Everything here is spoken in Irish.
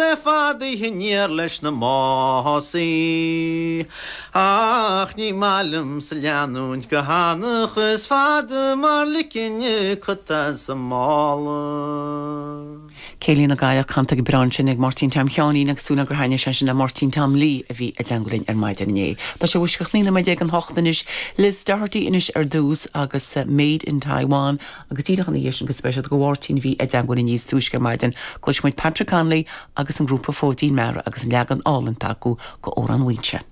le fadaithe aniar leis na másaí. Ach ní maith liomsa leanúint go hanach is fada mar ligfinn cut as an mála. Céilí na gCailleach canta go breá ansin ag Máirtín Tom Sheáinín agus súil agam gur thaitnigh sé sin le Máirtín Tom Lee a bhí i dteangmháil linn ar maidin inné. Tá sé 19 nóiméad don hocht anois. Liz Doherty anois ar dtús agus Made in Taiwan agus díreach ina dhiaidh sin go speisialta do Mháirtín a bhí i dteangmháil linn níos túisce ar maidin cloisfidh muid Patrick Connolly agus an grúpa Fóidín Meara agus an leagan álainn atá acu d'Amhrán Mhaínse.